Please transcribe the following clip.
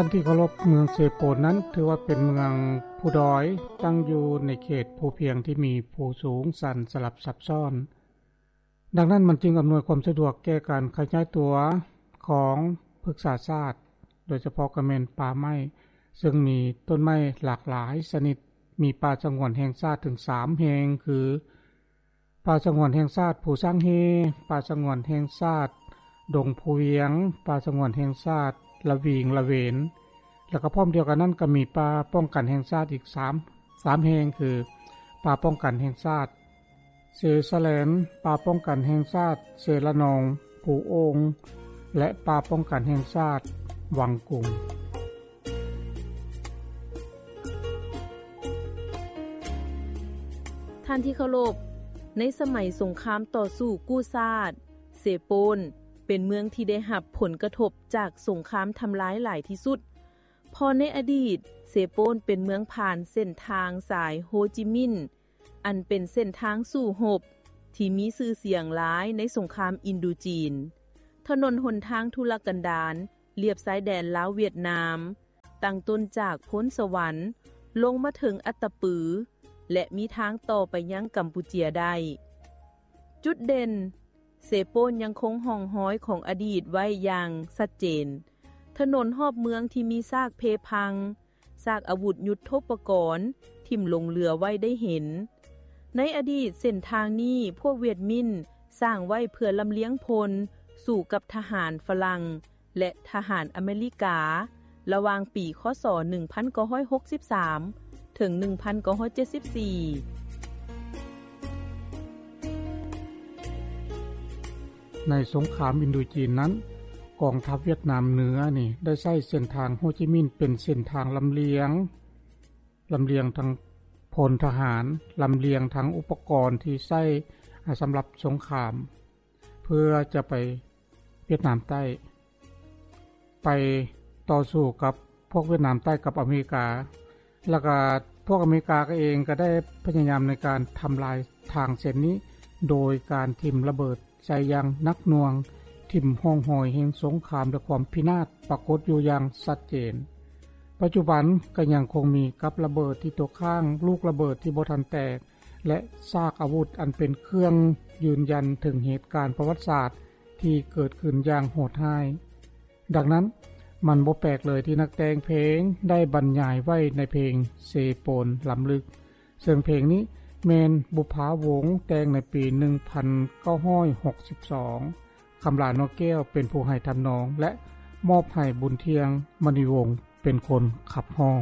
ທ່ານທີ່ເຄົາລົບ, ເມືອງເຊໂປນນັ້ນຖືວ່າເປັນເມືອງພູດອຍ, ຕັ້ງຢູ່ໃນເຂດພູພຽງທີ່ມີພູສູງຊັນສະຫຼັບຊັບຊ້ອນ. ດັ່ງນັ້ນມັນຈຶ່ງອຳນວຍຄວາມສະດວກແກ່ການຂະຫຍາຍຕົວຂອງພຶກສາຊາດ, ໂດຍສະເພາະກໍແມ່ນປ່າໄມ້, ເຊິ່ງມີຕົ້ນໄມ້ຫຼາກຫຼາຍຊະນິດ, ມີປ່າສະຫງວນແຫ່ງຊາດເຖິງສາມແຫ່ງ ຄື ປ່າສະຫງວນແຫ່ງຊາດພູຊ້າງເຮ, ປ່າສະຫງວນແຫ່ງຊາດດົງພູວຽງ, ປ່າສະຫງວນແຫ່ງຊາດລະວິງລະເວນ. ແລ້ວກໍພ້ອມດຽວກັນນັ້ນກໍມີປ່າປ້ອງກັນແຫ່ງຊາດອີກສາມ, ສາມແຫ່ງ ຄື ປ່າປ້ອງກັນແຫ່ງຊາດເຊສະແລນ, ປ່າປ້ອງກັນແຫ່ງຊາດເຊລະນອງ, ພູໂອ່ງ ແລະ ປ່າປ້ອງກັນແຫ່ງຊາດວັງກຸງ. ທ່ານທີ່ເຄົາລົບ, ໃນສະໄໝສົງຄາມຕໍ່ສູ້ກູ້ຊາດ, ເຊໂປນເປັນເມືອງທີ່ໄດ້ຮັບຜົນກະທົບຈາກສົງຄາມທຳລາຍຫຼາຍທີ່ສຸດ, ເພາະໃນອະດີດ ເຊໂປນເປັນເມືອງຜ່ານເສັ້ນທາງສາຍໂຮຈິມິນ ອັນເປັນເສັ້ນທາງສູ້ຮົບທີ່ມີຊື່ສຽງຫຼາຍໃນສົງຄາມອິນໂດຈີນ. ຖະໜົນຫົນທາງທຸລະກັນດານລຽບຊາຍແດນລາວຫວຽດນາມ, ຕັ້ງຕົ້ນຈາກໂພນສະຫວັນ ລົງມາເຖິງອັດຕະປື ແລະ ມີທາງຕໍ່ໄປຍັງກຳປູເຈຍໄດ້. ຈຸດເດັ່ນ, ເຊໂປນຍັງຄົງຮ່ອງຮອຍຂອງອະດີດໄວ້ຢ່າງຊັດເຈນ. ຖະໜົນຮອບເມືອງທີ່ມີຊາກເພພັງ, ຊາກອາວຸດຍຸດໂທປະກອນຖິ້ມຫຼົງເຫຼືອໄວ້ໄດ້ເຫັນ. ໃນອະດີດເສັ້ນທາງນີ້ພວກຫວຽດມິນສ້າງໄວ້ເພື່ອລຳລຽງພົນສູ້ກັບທະຫານຝຣັ່ງ ແລະ ທະຫານອາເມລິກາ ລະຫວ່າງປີ ຄ.ສ. ໜຶ່ງພັນເກົ້າຮ້ອຍຫົກສິບສາມ ເຖິງ ໜຶ່ງພັນເກົ້າຮ້ອຍເຈັດສິບສີ່. ໃນສົງຄາມອິນໂດຈີນນັ້ນ, ກອງທັບຫວຽດນາມເໜືອນີ້ໄດ້ໃຊ້ເສັ້ນທາງໂຮຈິມິນເປັນເສັ້ນທາງລຳລຽງ, ລຳລຽງທັງພົນທະຫານ, ລຳລຽງທັງອຸປະກອນທີ່ໃຊ້ສຳລັບສົງຄາມ ເພື່ອຈະໄປຫວຽດນາມໃຕ້, ໄປຕໍ່ສູ້ກັບພວກຫວຽດນາມໃຕ້ກັບອາເມລິກາ. ແລ້ວກະພວກອາເມລິກາກໍເອງກໍໄດ້ພະຍາຍາມໃນການທຳລາຍທາງເສັ້ນນີ້ ໂດຍການຖິ້ມລະເບີດໃສ່ຢ່າງໜັກໜ່ວງ, ຖິ້ມຮ່ອງຮອຍແຫ່ງສົງຄາມ ແລະ ຄວາມພິນາດປາກົດຢູ່ຢ່າງຊັດເຈນ. ປັດຈຸບັນກໍຍັງຄົງມີກັບລະເບີດທີ່ຕົກຄ້າງ, ລູກລະເບີດທີ່ບໍ່ທັນແຕກ ແລະ ຊາກອາວຸດອັນເປັນເຄື່ອງຢືນຢັນເຖິງເຫດການປະຫວັດສາດທີ່ເກີດຂຶ້ນຢ່າງໂຫດຮ້າຍ. ດັ່ງນັ້ນ, ມັນບໍ່ແປກເລີຍທີ່ນັກແຕ່ງເພງໄດ້ບັນຍາຍໄວ້ໃນເພງເຊໂປນລຳລຶກ, ເຊິ່ງເພງນີ້ແມ່ນບຸບພາວົງແຕ່ງໃນປີໜຶ່ງພັນເກົ້າຮ້ອຍຫົກສິບສອງ, ຄຳຫຼາ ນໍແກ້ວ ເປັນຜູ້ໃຫ້ທຳນອງ ແລະ ມອບໃຫ້ບຸນທ່ຽງ ມະນີວົງ ເປັນຄົນຂັບຮ້ອງ.